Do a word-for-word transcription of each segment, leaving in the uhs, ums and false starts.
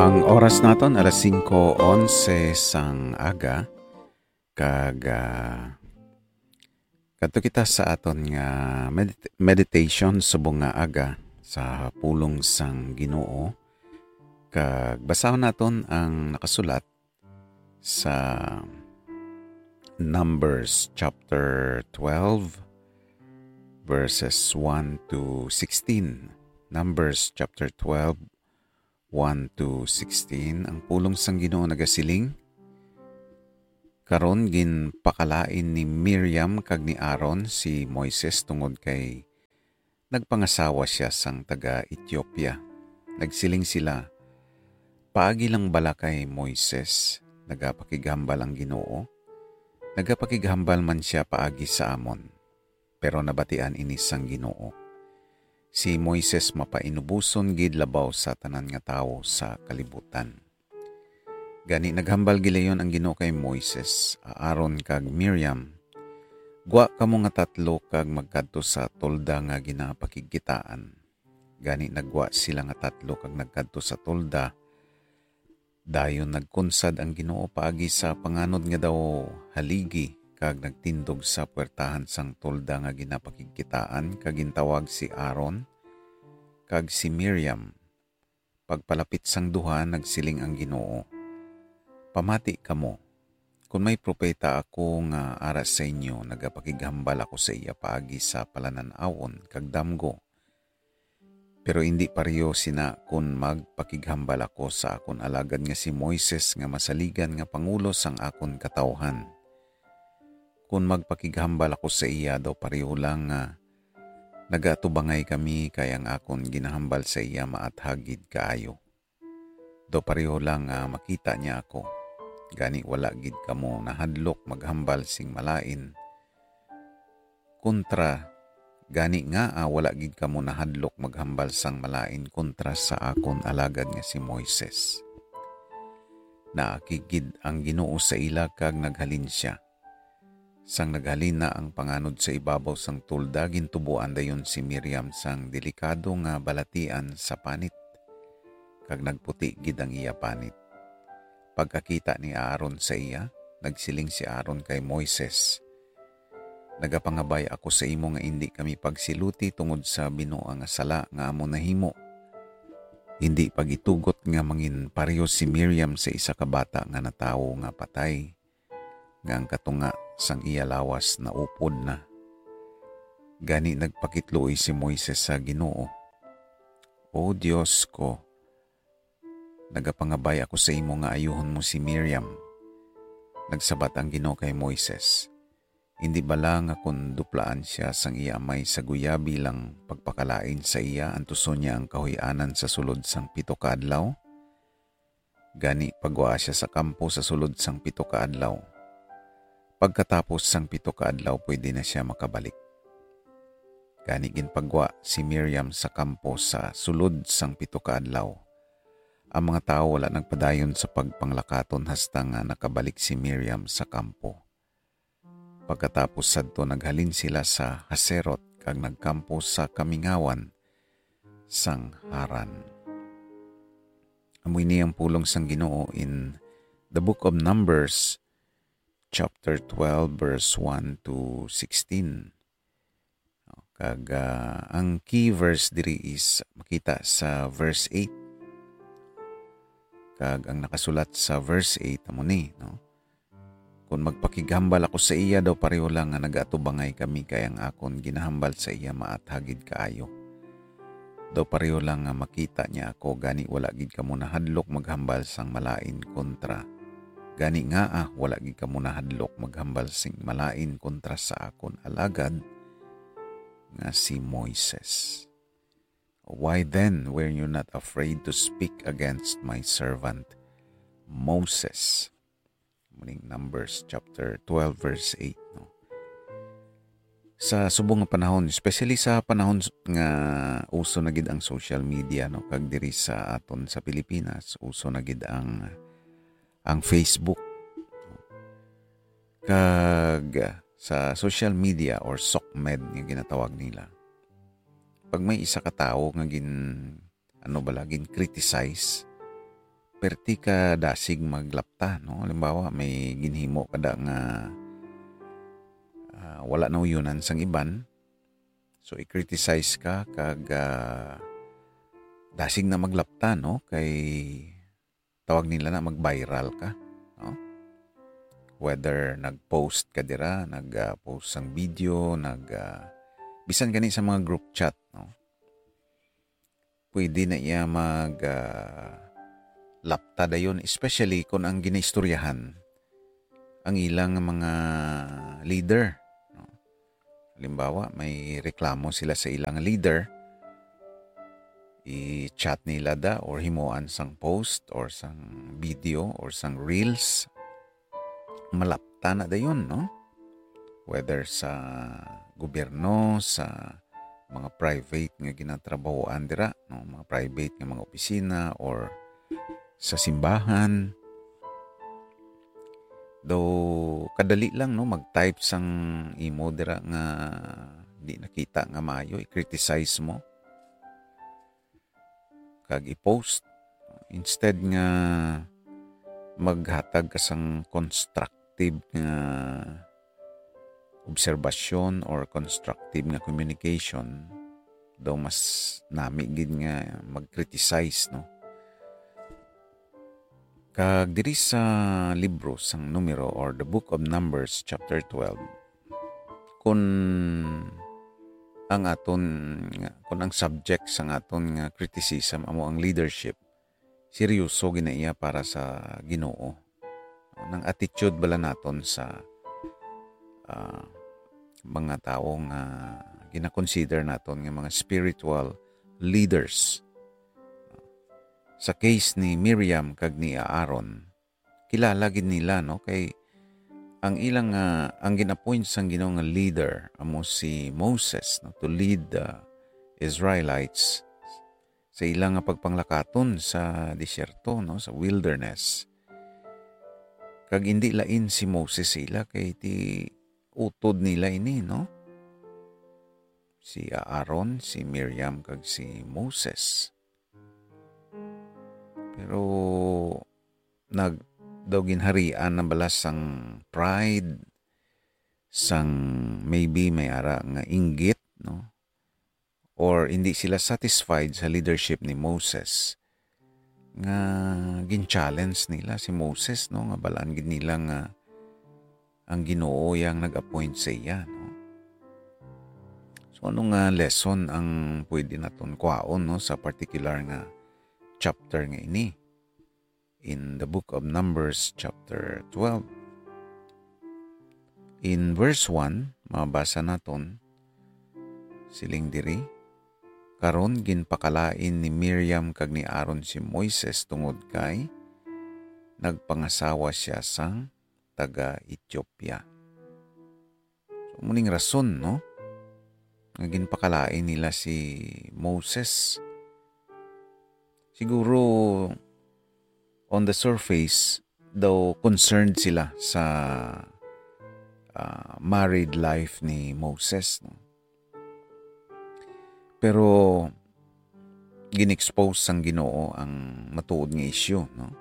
Ang oras naton alas singko onse sang aga, kag, ah, kadto kita sa aton nga medit-, meditation subong nga aga sa pulong sang Ginoo, kag basahon naton ang nakasulat sa Numbers chapter twelve, verses one to sixteen. Numbers chapter twelve, one to sixteen. Ang pulong sang Ginoo nagasiling, Karon ginpakalain ni Miriam kag ni Aaron si Moises tungod kay nagpangasawa sia sang taga-Etiopia. Nagsiling sila, "Paagi lang bala kay Moises nagapakighambal ang Ginoo? Nagapakighambal man sia paagi sa amon, pero nabatian ini sang Ginoo. Si Moises mapainuboson gid labaw sa tanan nga tawo sa kalibutan." Gani naghambal gilayon ang Ginoo kay Moises, Aaron, kag Miriam, "Gwa kamo nga tatlo kag magkadto sa tolda nga ginapakigkitaan." Gani naggwa sila nga tatlo kag nagkadto sa tolda. Dayon nagkunsad ang Ginoo paagi sa panganod nga daw haligi, kag nagtindog sa puwertahan sang tolda nga ginapakigkitaan, kag gintawag si Aaron kag si Miriam. Pagpalapit sang duha, nagsiling ang Ginoo, "Pamati kamo, kon may propeta ako nga ara sa inyo, nagapakighambal ako sa iya paagi sa palanan-awon kag damgo. Pero indi pareho sina kon magpakighambal ako sa akon alagad nga si Moises, nga masaligan nga pangulo sang akon katawhan. Kon magpakighambal ako sa iya, daw pareho lang nga nagaatubangay kami, kay ang akon ginahambal sa iya maathag gid kaayo. Daw pareho lang nga makita niya ako. Gani wala gid kamo nahadlok maghambal sing malain kontra, gani ngaa wala gid kamo nahadlok maghambal sang malain kontra sa akon alagad nga si Moises?" Naakig gid ang Ginoo sa ila kag naghalin sia. Sang naghalin na ang panganod sa ibabaw sang tolda, gintuboan dayon si Miriam sang delikado nga balatian sa panit, kag nagputi gid ang iya panit. Pagkakita ni Aaron sa iya, nagsiling si Aaron kay Moises, "Nagapangabay ako sa imo nga indi kami pagsiluti tungod sa binuang nga sala nga amon nahimo. Indi pag-itugot nga manginpareho si Miriam sa isa ka bata nga natawo nga patay, nga ang katunga sang iya lawas naupod na." Gani nagpakitluoy si Moises sa Ginoo, "O Dios ko, nagapangabay ako sa imo nga ayuhon mo si Miriam." Nagsabat ang Ginoo kay Moises, "Indi bala nga kon duplaan sia sang iya amay sa guyabi lang pagpakalain sa iya, antuson niya ang kahuy-anan sa sulod sang pito ka adlaw? Gani, paggwaa sia sa kampo sa sulod sang pito ka adlaw. Pagkatapos sang pito ka adlaw, pwede na sia makabalik." Gani, ginpaggwa si Miriam sa kampo sa sulod sang pito ka adlaw. Ang mga tawo wala nagpadayon sa pagpanglakaton hasta nga nakabalik si Miriam sa kampo. Pagkatapos sadto, naghalin sila sa Haserot kag nagkampo sa kamingawan sang Haran. Amo ini ang pulong sang Ginoo in the book of Numbers, chapter twelve, verse one to sixteen. Kag, ah, ang key verse diri is makita sa verse eight. Kag ang nakasulat sa verse eight amo ni, no? "Kon magpakighambal ako sa iya, daw pareho lang nga nagaatubangay kami, kay ang akon ginahambal sa iya maathag gid kaayo. Daw pareho lang nga makita niya ako, gani wala gid kamo nahadlok maghambal sang malain kontra. Gani ngaa wala gid kamo nahadlok maghambal sing malain kontra sa akon alagad nga si Moises? Why then were you not afraid to speak against my servant Moses?" Muning Numbers chapter twelve, verse eight, no? Sa subong nga panahon, especially sa panahon s-, nga uso na gid ang social media, no, kag diri sa aton sa Pilipinas, uso na gid ang, ang Facebook. Kag sa social media or SOCMED nga ginatawag nila, pag may isa ka tawo nga gin-, ano bala, gin-criticize, perti ka dasig maglapta, no? Halimbawa, may ginhimo ka da nga, ah, wala nauyonan sang iban. So, i-criticize ka kag, ah, dasig na maglapta, no? Kay tawag nila na mag-viral ka, no? Whether nag-post ka dira, nag, ah, post sang video, nag, ah, bisan gani sa mga group chat, no? Pwede na iya mag, ah, lapta dayon, especially kung ang ginaistoryahan ang ilang mga leader, no? Halimbawa, may reklamo sila sa ilang leader, i-chat nila da or himuan sang post or sang video or sang reels, malapta na dayon, no? Whether sa gobyerno, sa mga private nga ginatrabahoan dira, no? Mga private nga mga opisina or sa simbahan. Daw kadali lang, no, mag-type sang imo dira nga di nakita nga maayo, i-criticize mo kag i-post. Instead nga maghatag ka sang constructive nga obserbasyon or constructive nga communication, daw mas nami gid nga mag-criticize, no? Kag diri sa libro sang Numero or the Book of Numbers, chapter twelve, kun ang aton nga, kun ang subject sang aton nga criticism amo ang leadership, seryoso gid na iya para sa Ginoo. Ang attitude bala naton sa, ah, mga tawo nga gina-consider naton nga mga spiritual leaders. Sa case ni Miriam kag ni Aaron, kilala gid nila, no, kay ang ilang, ah, ang gin-appoint sang Ginoo nga leader amo si Moses, no, to lead the Israelites sa ila nga pagpanglakaton sa disyerto, no, sa wilderness. Kag indi lain si Moses sa ila, kay ti utod nila ini, no? Si Aaron, si Miriam, kag si Moses. Pero nag-, daw ginharian na bala sang pride, sang maybe may ara nga inggit, no? Or hindi sila satisfied sa leadership ni Moses, nga gin-challenge nila si Moses, no, nga balaan gid nila nga ang Ginoo yang nag-appoint sa iya, no? So, ano nga lesson ang pwede naton kwaon, no, sa particular nga chapter nga ini? In the book of Numbers, chapter twelve. In verse one, mabasa naton, siling diri, "Karon ginpakalain ni Miriam kag ni Aaron si Moises tungod kay nagpangasawa sia sang taga-Etiopia." So, muning rason, no, nga ginpakalain nila si Moses. Siguro, on the surface, daw concerned sila sa, ah, married life ni Moses, no? Pero gin-expose sang Ginoo ang matuod nga issue, no?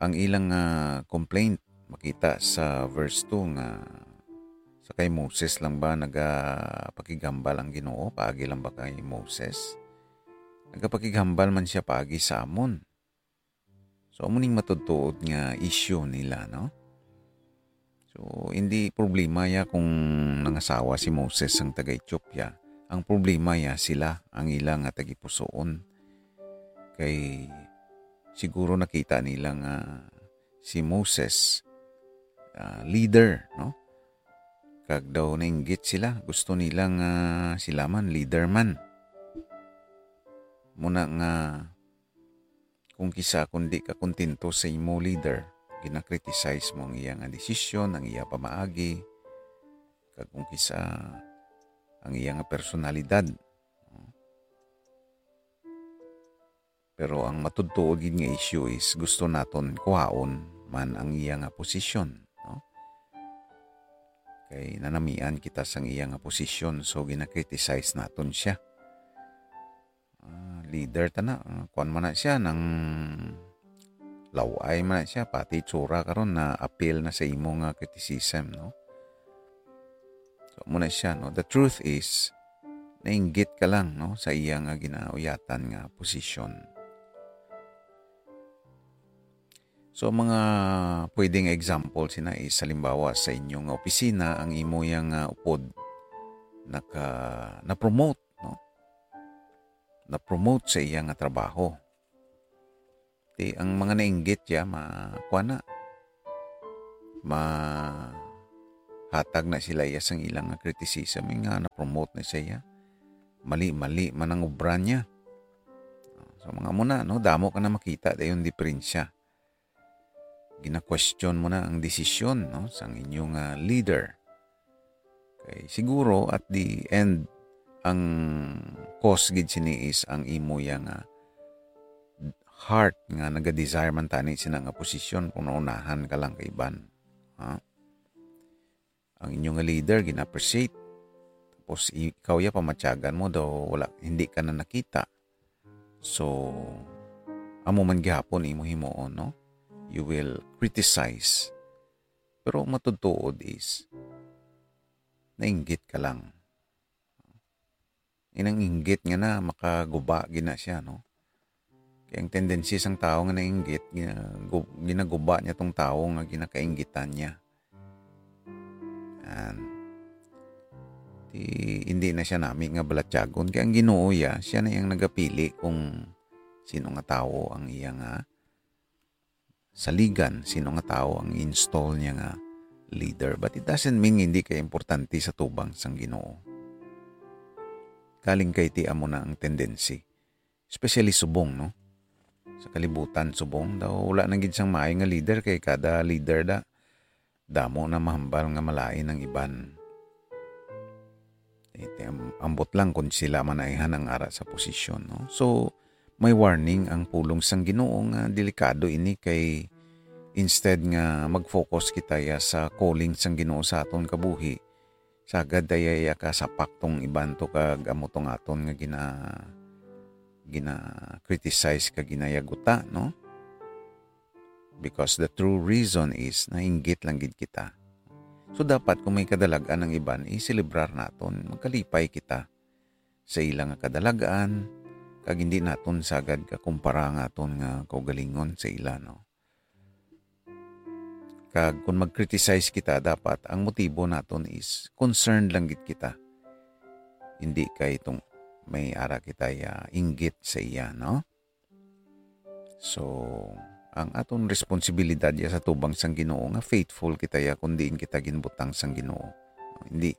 Ang ilang, ah, complaint makita sa verse two nga, sa kay Moses lang ba nagapakighambal ang Ginoo? Paagi lang ba kay Moses? Nagapakighambal man sia paagi sa amon. So, amo ning matudtuod nga issue nila, no? So, hindi problema ya kung nangasawa si Moses sang taga-Etiopia. Ang problema ya sila, ang ila nga tagipusoon. Kay siguro nakita nila nga si Moses, ah, leader, no? Kag daw nainggit sila, gusto nila nga sila man, leader man. Muna nga kung kisa, kung di ka kontento sa imo leader, gina-criticize mo ang iya nga desisyon, ang iya pamaagi, kag kung kisa, ang iya nga personalidad. Pero ang matudtuod gid nga issue is gusto naton kuhaon man ang iya nga posisyon, no? Kay nanamian kita sang iya nga posisyon, so gina-criticize naton sia. Ah, leader ta na, ah, kuwan man na siya, nang law-ay man na siya, pati itsura karon na appeal na sa imo nga criticism, no? So, amo na siya, no? The truth is, nainggit ka lang, no, sa iya nga ginauyatan nga posisyon. So, mga pwedeng example sina is, halimbawa, sa inyo nga opisina, ang imo yang, ah, upod naka-, na-promote, no? Na-promote sa iya nga trabaho. Ti, ang mga nainggit ya, ma-, kuwan na, mahatag na sila iya sang ilang nga criticism, nga na-promote na siya. Mali-mali man ang obra niya. So, mga muna, no, damo ka na makita dayon diferensya. Gina-question mo na ang desisyon, no, sang inyong, ah, leader. Kay siguro, at the end, ang cause gid sini is ang imo ya nga heart nga naga-desire man tani sina nga posisyon kung naunahan ka lang kay iban. Ha? Ang inyo nga leader gina-appreciate. Tapos i-, ikaw ya pamatyagan mo daw wala, hindi ka na nakita. So, amo man gihapon imo himuon, no? You will criticize. Pero ang matutuod is, nainggit ka lang. Inang inggit nga na, makaguba gina siya, no? Kaya ang tendency sang tao nga nainggit, gina-, gu-, ginaguba niya tong tao nga ginakainggitan niya. Yan. Di, hindi na siya nami nga balatyagon. Kaya ang Ginoo ya, siya na yang nagapili kung sino nga tao ang iya nga saligan, sino nga tao ang install niya nga leader. But it doesn't mean hindi kay importante sa tubang sang Ginoo. Kaling kay ti amo na ang tendency. Especially subong, no? Sa kalibutan, subong daw, wala na gid sang maayo nga leader, kay kada leader da, damo na mahambal nga malain ang iban. Eh, ti am-, ambot lang kung sila man ayhan ang ara sa posisyon, no? So, may warning ang pulong sang Ginoo nga delikado ini, kay instead nga mag-focus kita ya sa calling sang Ginoo sa aton kabuhi, sagad ta ya kasapak tong iban to kag amo tong aton nga gina-, gina-criticize kag ginayaguta, no? Because the true reason is nainggit lang gid kita. So, dapat kung may kadalag-an ang iban, i-selebrar naton, magkalipay kita sa ila nga kadalag-an, kag hindi naton sagad kakumpara ang aton nga kaugalingon sa ila, no? Kag kung mag-criticize kita, dapat ang motibo naton is concerned lang gid kita. Hindi kay itong may ara kita ya inggit sa iya, no? So, ang aton responsibilidad ya sa tubang sang Ginoo nga faithful kita ya kung diin kita ginbutang sang Ginoo. Hindi,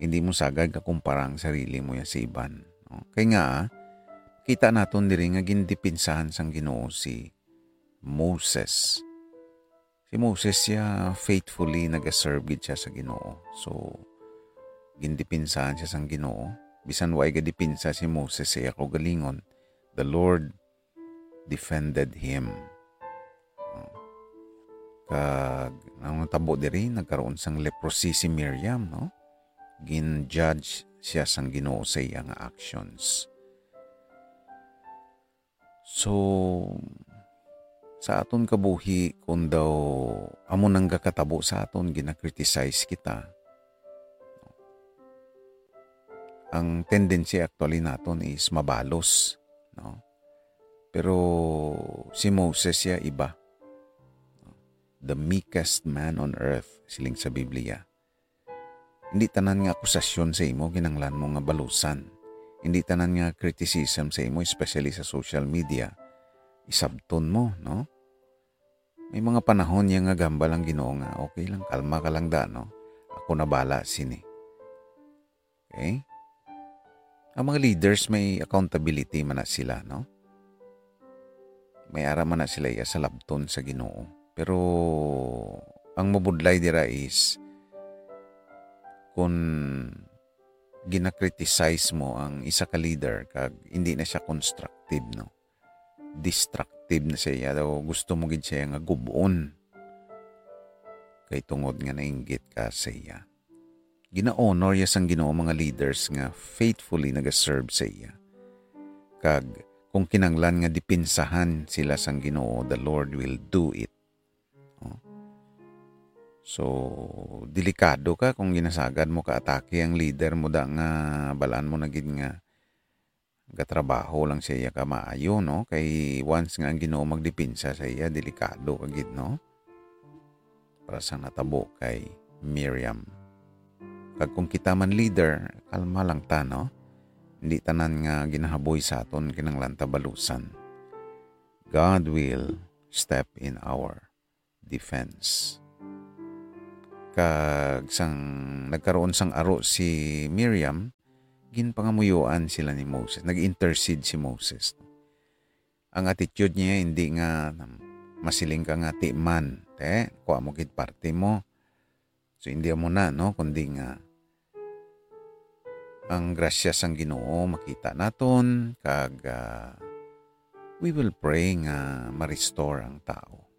hindi mo sagad kakumpara ang sarili mo ya sa iban, no? Kay nga, kita naton diri nga gindipinsahan sang Ginoo si Moses. Si Moses siya faithfully nagaserve gid siya sa Ginoo. So, gindipinsahan siya sang Ginoo. Bisan way gadipinsa si Moses sa iya kaugalingon, the Lord defended him. Kag ang natabo diri, nagkaroon sang leprosy si Miriam, no? Gin-judge siya sang Ginoo sa iya nga actions. So, sa aton kabuhi, kung daw amo nang gakatabo sa aton, gina-criticize kita, ang tendency actually naton is mabalos, no? Pero si Moses ya iba. The meekest man on earth, siling sa Biblia. Hindi tanan nga akusasyon sa imo kinahanglan mo nga balusan. Hindi tanan nga criticism sa imo, especially sa social media, isabton mo, no? May mga panahon niya nga gahambal ang Ginoo nga, "Okay lang, kalma ka lang da, no? Ako na bala sini." Okay? Ang mga leaders may accountability man na sila, no? May ara man na sila iya sa labton sa Ginoo. Pero ang mabudlay dira is kung gina-criticize mo ang isa ka leader kag hindi na siya constructive, no? Destructive na siya. Daw gusto mo gid siya nga gub-on. Kay tungod nga nainggit ka sa iya. Gina-honor ya sang Ginoo mga leaders nga faithfully nagaserve sa iya. Kag kung kinanglan nga dipinsahan sila sang Ginoo, the Lord will do it. Oh. So, delikado ka kung ginasagad mo ka atake ang leader mo da nga balaan mo na gid nga gatrabaho lang sa iya ka maayo, no? Kay once nga ang Ginoo magdepensa sa iya, delikado ka gid, no? Para sa natabo kay Miriam. Kag kung kita man leader, kalma lang ta, no? Hindi tanan nga ginahaboy sa aton kinahanglan ta balusan. God will step in our defense. Kag sang nagkaroon sang aro si Miriam, ginpangamuyoan sila ni Moses, nag-intercede si Moses. Ang attitude niya, hindi nga masiling ka nga, "Ti man, te, kuha mo gid parte mo." So, hindi mo na, no? Kundi nga, ang grasya sang Ginoo makita naton, kag, ah, we will pray nga ma-restore ang tao.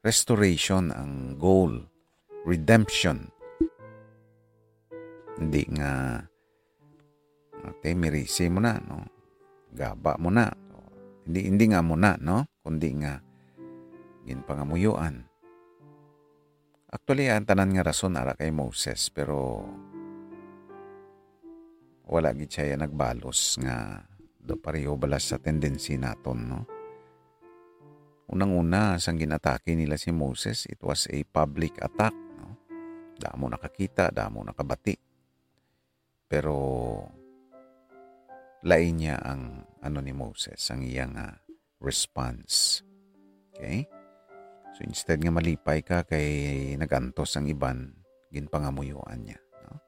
Restoration ang goal. Redemption. Hindi nga, "Ate, mirisi mo na, no? Gaba mo na." Hindi, hindi nga mo na, no? Kundi nga, ginpangamuyoan. Actually, ang tanan nga rason ara kay Moses, pero wala gid siya nagbalos nga do pareho bala sa tendency naton, no? Unang-una, sang ginatake nila si Moses, it was a public attack, no? Damo nakakita, damo nakabati. Pero lain niya ang ano ni Moses, ang iya nga response. Okay? So, instead nga malipay ka kay nag-antos ang iban, ginpangamuyoan niya, no?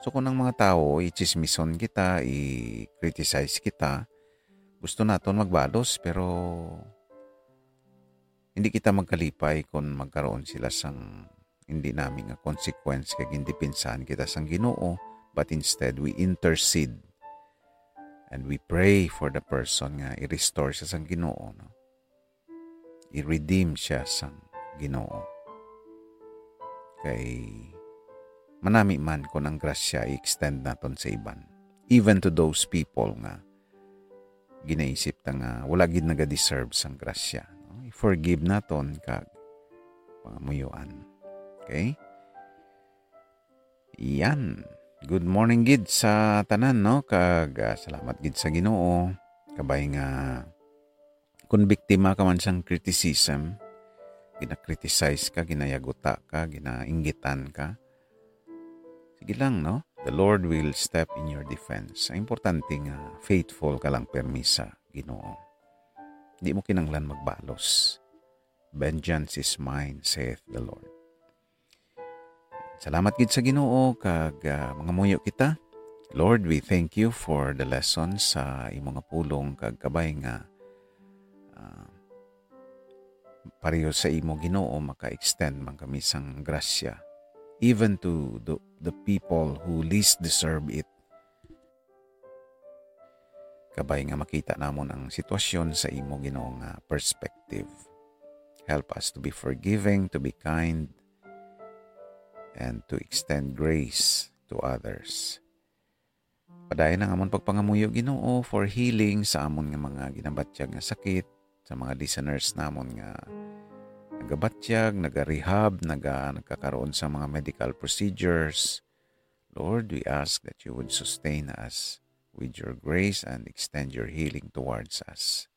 So, kung ang mga tawo, ichismison kita, i-criticize kita, gusto naton magbalos, pero hindi kita magkalipay kung magkaroon sila sang hindi nami nga consequence kay gindipinsahan kita sang Ginoo, but instead we intercede and we pray for the person nga i-restore siya sang Ginoo, no? I-redeem siya sang Ginoo. Kay manami man kung ang grasya i-extend naton sa iban, even to those people nga ginaisip ta nga wala gid naga-deserve sang grasya, no? I-forgive naton kag pangamuyoan. Okay? Yan. Good morning gid sa tanan, no? Kag, ah, salamat gid sa Ginoo. Kabay nga kung biktima ka man sang criticism, gina-criticize ka, ginayaguta ka, ginainggitan ka, sige lang, no? The Lord will step in your defense. Ang importante nga faithful ka lang pirmi sa Ginoo. Di mo kinahanglan magbalos. "Vengeance is mine, saith the Lord." Salamat gid sa Ginoo, kag, ah, mangamuyo kita. Lord, we thank you for the lesson sa imo nga pulong, kag kabay nga, ah, pareho sa imo, Ginoo, maka-extend man kami sang grasya, even to the, the people who least deserve it. Kabay nga makita namon ang sitwasyon sa imo, Ginoo, nga perspective. Help us to be forgiving, to be kind, and to extend grace to others. Padayon ang amon pagpangamuyo, Ginoo, for healing sa amon nga mga ginabatyag nga sakit, sa mga listeners namon nga nagabatyag, naga-rehab, naga-, nagkakaroon sa mga medical procedures. Lord, we ask that you would sustain us with your grace and extend your healing towards us.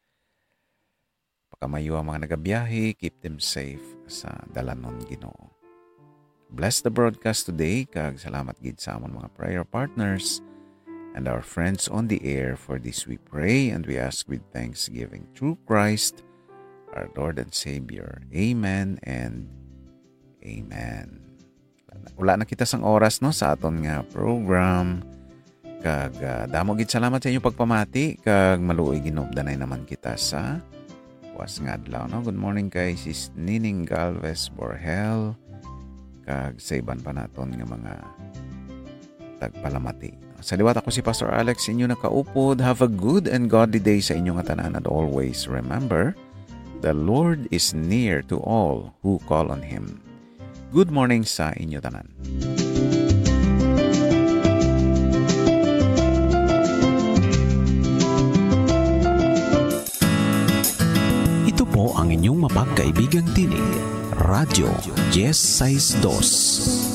Pakamayo ang mga nagabiyahe, keep them safe sa dalanon, Ginoo. Bless the broadcast today, kag salamat gid sa amon mga prayer partners and our friends on the air. For this we pray and we ask with thanksgiving through Christ, our Lord and Savior. Amen and amen. Wala na kita sang oras, no, sa aton nga program. Kag, ah, damo gid salamat sa inyong pagpamati, kag maluoy ginupdanay naman kita sa buwas nga adlaw, no? Good morning kay Sis Nining Galvez Borhel, kag sa iban pa naton nga mga tagpalamati. Sa liwat, ako si Pastor Alex, inyo nakaupod. Have a good and godly day sa inyo nga tanan, and always remember, the Lord is near to all who call on Him. Good morning sa inyo tanan. po ang inyong mapagkaibigang tinig, Radyo Diez Seis Dos.